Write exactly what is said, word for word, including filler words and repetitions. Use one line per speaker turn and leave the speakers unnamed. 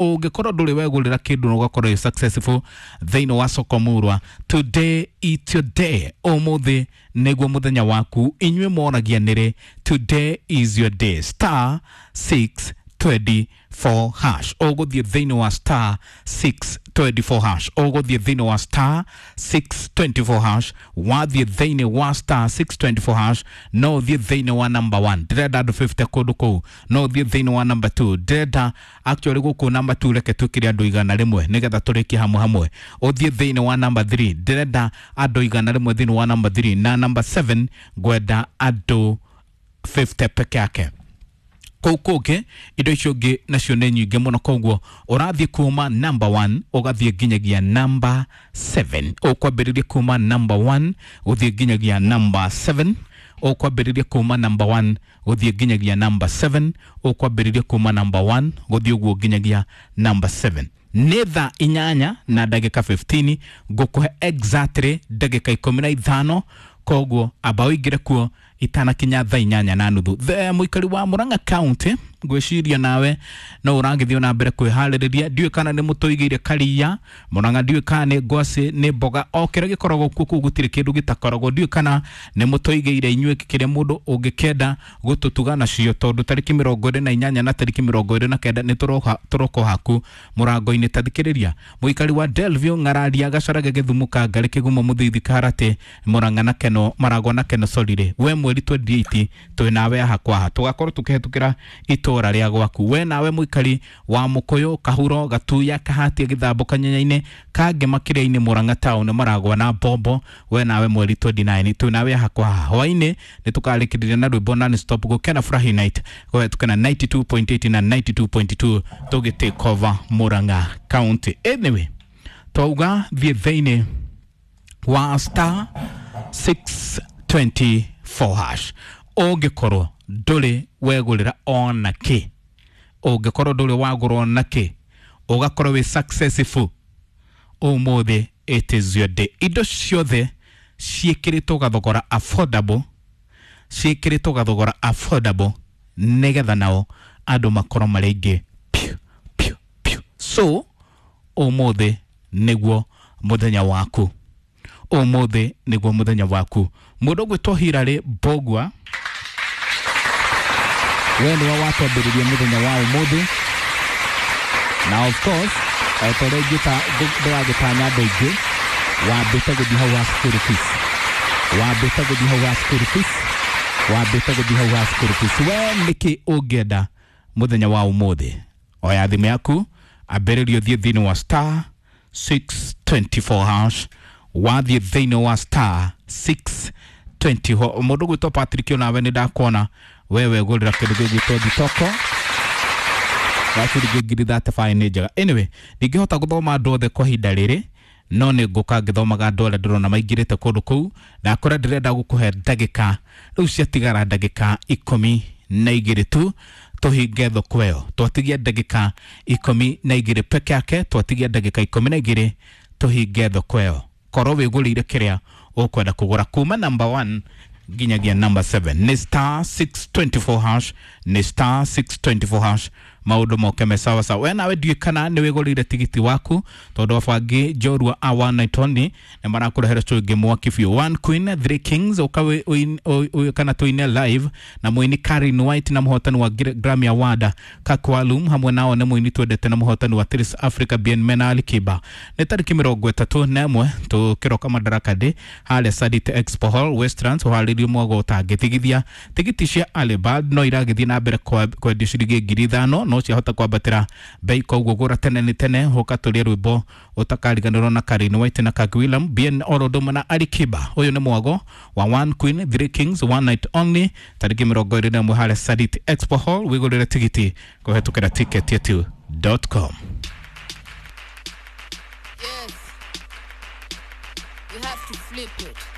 Ũngĩkorwo ndũrĩ wegũrĩra kĩndũ na ũgakorwo wĩ successful thĩinĩ wa soko murwa, today it's your day. Ũmũthĩ nĩguo mũthenya waku. Inyuĩ moragia nĩrĩ, today is your day. Star six twenty-four hash, ũgũthiĩ thĩinĩ wa star six twenty-four hash, ũgũthiĩ thĩinĩ wa star six twenty-four hash. Wathiĩ thĩinĩ wa star six twenty-four hash, no ũthiĩ thĩinĩ wa number one, ndĩrenda andũ fifty kũndũ kũu. No ũthiĩ thĩinĩ wa number two, ndĩrenda actually gũkũ number two reke twĩkĩre andũ igana rĩmwe nĩgetha tũrĩkie hamwe hamwe. Ũthiĩ thĩinĩ wa number three, ndĩrenda andũ igana rĩmwe thĩinĩ wa number three, na number seven ngwenda andũ fifty peke yake. Kũu kũngĩ indo icio ingĩ nacio nĩ nyingĩ mũno, koguo ũrathiĩ kuma number one ũgathiĩ nginyagia number seven. Ũkwambĩrĩria kuma number one gũthiĩ nginyagia number seven, ũkwambĩrĩria kuma number one gũthiĩ nginyagia number seven, ũkwambĩrĩria kuma number one gũthiĩ ũguo nginyagia number seven. Nĩ thaa inyanya na ndagĩka fifteen, ngũkũhe exactly ndagĩka ikũmi na ithano, koguo amba ũingĩre kuo itanakinya thaa inyanya na nuthu. The mũikari wa Murang'a County, ngwĩciria nawe no ũragĩthiĩ na mbere kwĩharĩrĩria. Ndiũĩ kana nĩ mũtũigĩire karia Murang'a, ndiũĩ kana nĩ ngwacĩ, nĩ mboga, o kĩrĩa gĩkoragwo kuo kũu gũtirĩ kĩndũ gĩtakoragwo. Ndiũĩ kana nĩ mũtũigĩire inyuĩ kĩrĩa mũndũ ũngĩkĩenda gũtũtuga nacio, tondũ tarĩki mĩrongo ĩrĩ na inyanya na tarĩki mĩrongo ĩrĩ na kenda nĩ tũroka tũroka haku mũrango-inĩ. Tathikĩrĩria mũikari wa Delview, Ng'araria, Gacarage, Gĩthumo, Kangarĩ, Kĩgumo, Mũthithi, Kaharatĩ, Murang'a na Keno, Maragwa na Keno Solire, we mweri twenty-eight twĩ nawe haha kwa haha, tũgakorwo tũkĩhetũkĩra itũra rĩa gwaku. We nawe mũikari wa Mũkũyũ, Kahuro, Gatuya, Kahatia, Gĩthambo, Kanyenya-inĩ, Kangema, Kĩrĩa-inĩ, Murang'a town, Maragwa na Bombo, we nawe mweri twenty-nine twĩ nawe haha kwa haha. Hwaĩ-inĩ nĩ tũkarĩkĩrĩria na rwĩmbo non stop gũkena Furahi night kũhetũkĩra ninety-two point eight na ninety-two point two tũgĩ take over Murang'a County. Anyway, twauga thiĩ thĩinĩ wa star six twenty-four hash. Ũngĩkorwo ndũrĩ wegũrĩra ona kĩ, ũngĩkorwo ndũrĩ wagũra ona kĩ, ũgakorwo wĩ successful ũmũthĩ, it is your day. Indo ciothe ciĩkĩrĩtwo gathogora affordable, ciĩkĩrĩtwo gathogora affordable nĩgetha nao andũ makorwo marĩ aingĩ piu piu piu. So ũmũthĩ nĩguo mũthenya waku, ũmũthĩ nĩguo mũthenya waku. Mũndũ ũgwĩtwo Hilary Mbogua, we nĩwe watwambĩrĩria mũthenya wa ũmũthĩ, na of course o ta ũrĩa ingĩta ndĩragĩtanya andũ aingĩ, wambĩte gũthiĩ hau wa school fees, wambĩte gũthiĩ hau wa school fees, wambĩte gũthiĩ hau wa school fees. We nĩkĩ ũngĩenda mũthenya wa ũmũthĩ? Oya thimũ yaku, ambĩrĩria ũthiĩ thĩinĩ wa star six twenty-four hash, wathiĩ thĩinĩ wa star six twenty-four. Mũndũ ũgwĩtwo Patrick, onawe nĩ ndakuona wewe gũrĩra kĩndũ gĩgwĩtwo thitoko ya ciringi ngiri thirty-five nĩ njega. Anyway, ndingĩhota gũthoma andũ othe kwa ihinda rĩrĩ, no nĩ ngũka ngĩthomaga andũ arĩa ndĩrona maingĩrĩte kũndũ kũu. Ndakora ndĩrenda gũkũhe ndagĩka rĩu ciatigara ndagĩka ikũmi na igĩrĩ tu tũhinge thoko ĩyo. Twatigia ndagĩka ikũmi na igĩrĩ peke yake, twatigia ndagĩka ikũmi na igĩrĩ tũhinge thoko ĩyo. Korwo wĩgũrĩire kĩrĩa ũkwenda kũgũra kuma number one nginyagia number seven, nĩ star six twenty-four hash, nĩ star six twenty-four hash. Maũndũ moke me sawa sawa. We nawe ndiũĩ kana nĩ wĩgũrĩire tigiti waku, tondũ abangi njorua a one night only nĩ marakũrehera show ĩngĩ mwaki biũ. One Queen Three Kings, ũka kana tũine live na mũini Karen White na mũhotani wa Grammy Award Kakwalum, hamwe nao nĩ mũini twendete na mũhotani wa Trace Africa Bien Mena Alikiba. Nĩ tarĩki mĩrongo ĩtatũ na ĩmwe tũkĩroka Madaraka Day harĩa Sadit Expo Hall Westlands, ũharĩrio mwago ũtangĩtigithia. Tigiti cia Alibad no iragĩthiĩ na mbere kwendio ciringi ngiri ithano, no ciahota kwambatĩra bei, koguo gũra tene nĩ tene, ũka tũrĩe rwĩmbo ũtakariganĩrwo na Karen White na Kag William Bien Orodoma na Alikiba. Ũyũ nĩ mwago wa One Queen Three Kings One Night Only tarĩki mĩrongo ĩrĩ na ĩmwe harĩa Sadit Expo Hall. Wĩgũrĩre tigiti kũhetũkĩra ticket yetu dot com.
Yes. You have to flip it.